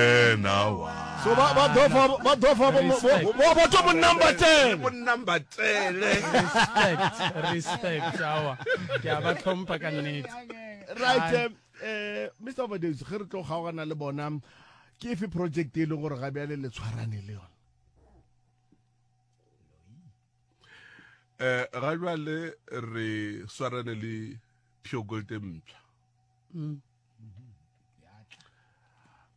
Wena wa. So ba ba dofa ba dofa bo bo ba to mo number 10. Mo number 10. Respect, respect awa. Ke a ba tlhompha ka nnete. Right eh, eh Mr Overdose ge re tlo kgaogana le bona ke efe project e leng gore ga bjale le tshwarane le yona? Eh ga jwale re swarane le Pure Gold e mpsha. Mm.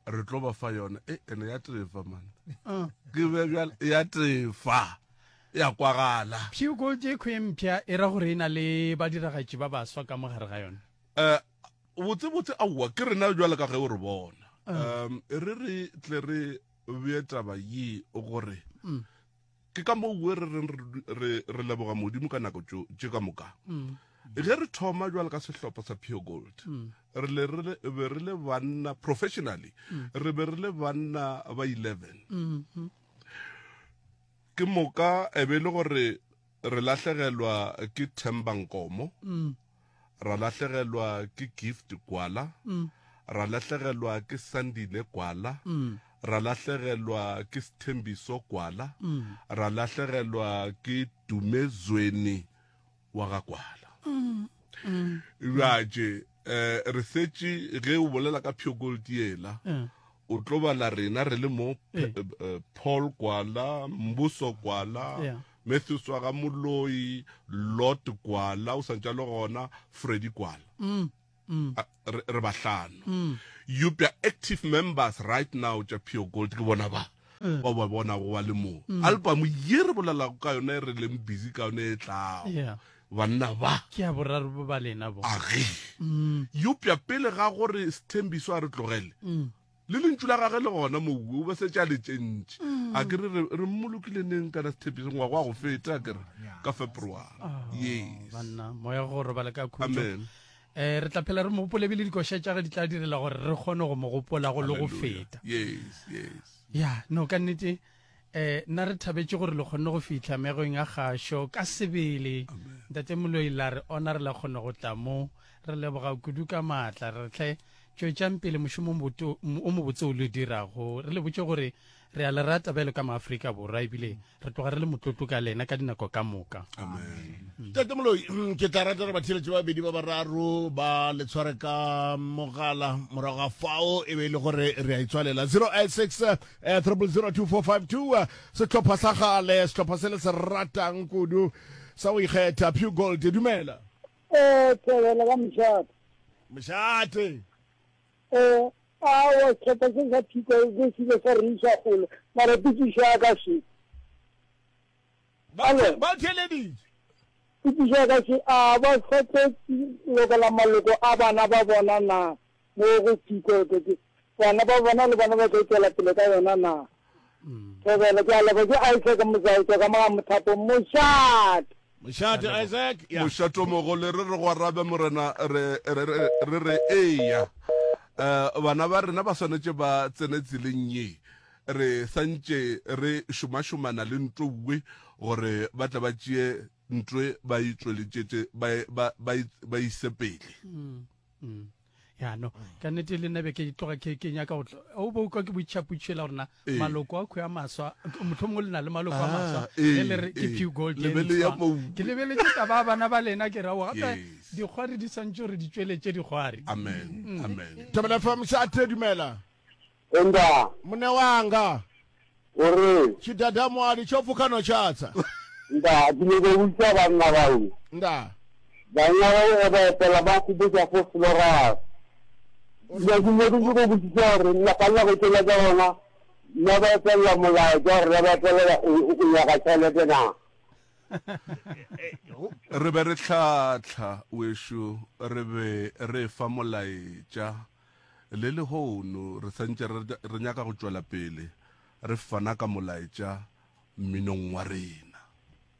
Re tlo ba fa yona e ene ya tefa man. Ah. Ke be bjale ya tefa ya kwagala. Pure Gold e khwe mpsha e ra gore e na le badiragatši ba baswa ka mo gare ga yona. Eh botse botse aowa ke rena jwale ka ge o re bona. Ah. Um re re tle re bee taba ye gore mm. Ke ka moo re reng re, re leboga Modimo ka nako tšo, tše ka moka. Mm. Ge re thoma jwalo ka sehlopha sa Pure Gold, mm. re le, re le, be re le banna professionally, mm. re be re le banna ba 11. Mm -hmm. Ke moka e be le gore re lahlegelwa ke Themba Nkomo. Mm. Ra lahlegelwa ke Gift Gwala. Mm. Ra lahlegelwa ke Sandile Gwala. Mm. Ra lahlegelwa ke Sthembiso Gwala. Mm. Ra lahlegelwa ke Dumezweni wa ga Gwala. Mm. Mm. Bjatše eh, re setše ge o bolela ka Pure Gold yela mm. o tlo bala rena re le mo eh. Eh, Paul Gwala, Mbuso Gwala, yeah. Matthews wa ga Moloi, Lot Gwala o santše a le gona, Freddy Gwala. Mm, mm. Re, re bahlano. Mm. Eupša active members right now tša Pure Gold ke bona ba. Mm. Ba ba bonago ba le mo. Mm. Album ye re bolelago ka yona e re leng busy ka yona e tlago. Yeah. Banna ba. Ke ya boraro bo ba lena bo. Age. Mm. Eupša pele ga gore Sthembiso a re tlogele. Mm. Le lentšu la gage le gona moue o be setše a le tsentše. Mm. A ke re re mmolokile neng kana Sthembiso ngwaga wa go feta a ke re ka February. Oh, yes. Banna moya go robala ka khutšo. Amen. Eh re tla phela re mo gopole ebile dikoša tša ge di tla direla gore re kgone go mo gopola go le go feta. Yes, yes. Ya, no ka nnete eh nna re thabetše gore le kgonne go fihla megong ya kgašo ka sebele. Ntate Moloi la re ona re la kgone go tla mo. Re leboga kudu ka maatla re tle Tšwetšang pele mošomo o mobotse o le dirago. Re le botše gore re a le rata bjalo ka Maafrika Borwa ebile re tloga re le motlotlo ka lena ka dinako ka moka. Amen. Tate Moloi, mm, ke tla rata gore batheeletši ba babedi ba bararo ba le tshware ka mogala morago ga fao e be e le gore re a itswalela 086 0002452 eh, sehlopha sa gale sehlopha se le se ratang kudu sa go ikgetha Pure Gold dumela Eh, thobela ka mošate. Mošate. Eh, awa sehlopha se sa phiko se se ile sa re iša kgole mara potšišo ya ka še Ba ba theeleditše. Potšišo ya ka še a ba sa tlo lokela maloko a bana ba bona na mo go phiko bana ba bona le bona ba tlo tšwela pele ka yona na thobela ke a leboga ke Isaac Mozautso ka mo ga Mothapo mošate. Mošate Isaac ya. Mošatomogolo re re go arabe morena re re re re eya um bana ba rena ba swanetše ba tsene tseleng ye re santše re šomašomana le ntouwe gore ba tle ba tšee ntwe ba e tšweletšetše ba ba ba ise pele mm, mm. ya no ka nnete le nna be ke tloga ke ke nyaka go o bo kwa ke boitšhaputšhela gore na Ee. maloko a khwe a maswa motlho mongwe le na le maloko a maswa Ah, ee, ge le re ke ee. pew gold Le ye be le ya ntshwa. moo. ke lebeletše taba ya bana ba lena ke ra gape Yes. dikgwari di swantše gore di tšweletše dikgwari amen amen Thobela FM mošate dumela. Enda. Mune wanga. O re. Tshidadamwadi tsho pfukha no tshatsa. Nda, ke nyoko botša banna bao. Nda. Banna bao ge ba opela ba nkgopotša fo Florus. Nda, ke nyoko ke go botšiša gore nna ka nako tšela tša bona na ba opelela molaetša gore na ba opelela o nyaka tšhelete na? Re be re hlahla wešo, re be re fa molaetša. Le lehono re santše re, re nyaka go tšwela pele re fana ka molaetša mminong wa rena.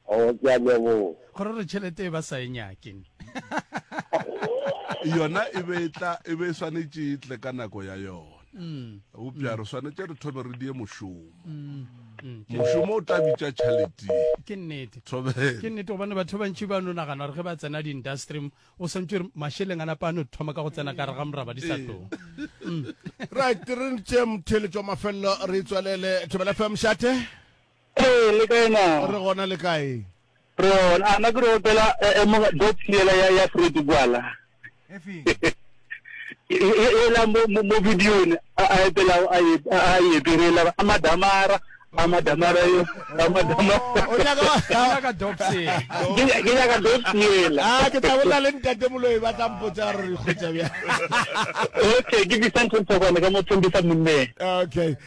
Oh, ke a leboga. Gore re tšhelete e ba sa e nyake. Yona e be e tla, e be e swanetše e tle ka nako ya yona. Eupša re swanetše re thome re die mošomo. Mošomo o tla bitša tšhalete. Ke nnete. Thobela. Ke nnete gobane batho ba bantši ba no nagana gore ge ba tsena di-industry o swantše gore mašeleng a napa a no thoma ka go tsena ka gare ga moraba di sa tloga. Right, re ntše motheeletši wa mafelelo re tswelele. Thobela FM, Šate. Ee, le kae na? Re gona le kae? Re gona. A na ke re opela eh, eh, mo dot yela ya ya Fred Gwala. Ela mo mo mo videong a a epela a e a e epela a madamara a madamara yo a madamara. O nyaka Ke nyaka Dopsy. Ke ke nyaka dot yela. Ah, ke tla bolela le ntate Moloi ba tla mpotsa gore re kgwetsa bjang. Okay, ke Vicente Ntshokwane ka mo Thembisa Monneng. Okay.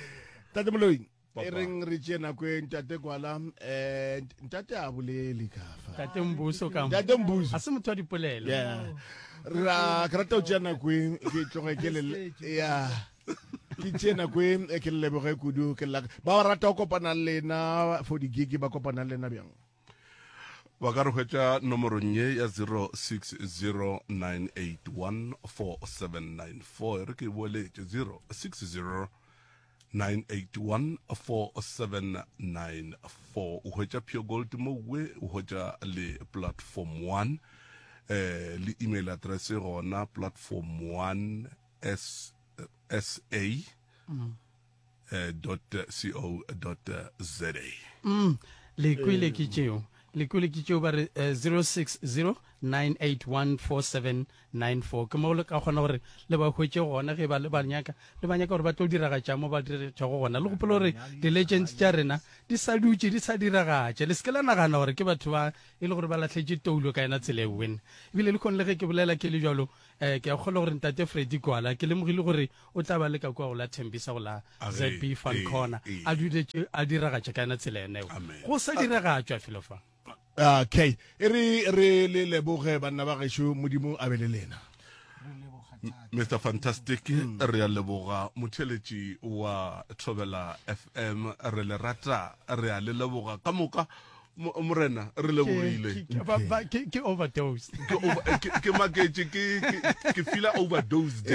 Ntate Moloi. E reng re tšee nako e ntate Kwala eh ntate a bolele ka fa. Ntate Mbuso ka. Ntate Mbuso. A se motho wa dipolelo. Yeah. Ra ke rata o tšea nako e ke tloge ke le ya. Ke tšee nako e ke le leboge kudu ke la ba rata go kopana le lena for di gig ba kopana le lena bjang. Ba ka re hwetša nomorong ye ya 0609814794 e re ke e boeletše 060 9814794 o hwetša Pure Gold mowe o hwetša le platform 1 eh le email address e gona platform 1 s sa eh, dot co dot za. Mm, le kwele ke tšeo le kwele ke tšeo ba re eh, 0609814794 ke mo le ka kgona gore le ba hwetše gona ge ba le ba nyaka le ba nyaka gore ba tlo diragatša mo ba diragatšago gona le gopole gore di-legends tša rena di sa dutše di sa diragatša le se ke la nagana gore ke batho ba e le gore ba lahletše toulo ka yona tsela e wene ebile le kgone le ge ke bolela ke le jalo um ke a kgolwa gore ntate Freddy Gwala ke lemogile gore o tla ba le ka kua go la Thembisa go la ZB Fun Corner a duletše a diragatša ka yona tsela yona eo go sa diragatšwa felo fa. Okay, e re re le leboge banna ba gešo, Modimo a be le lena. Mr Fantastic re a leboga motheletši wa Thobela FM re le rata re a le leboga ka moka Morena re lebogile. Ke overdose. Ke maketše ke ke feela overdosed.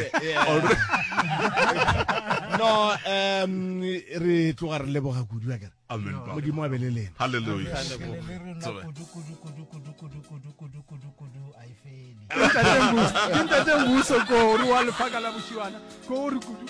No um re tloga re leboga kudu akere. Amen. Modimo a be le lena. Hallelujah. Kudu kudu kudu kudu kudu kudu kudu kudu kudu a e fele. Ke ntate Mbuso ko re wa lefaka la bošiwana ko re kudu.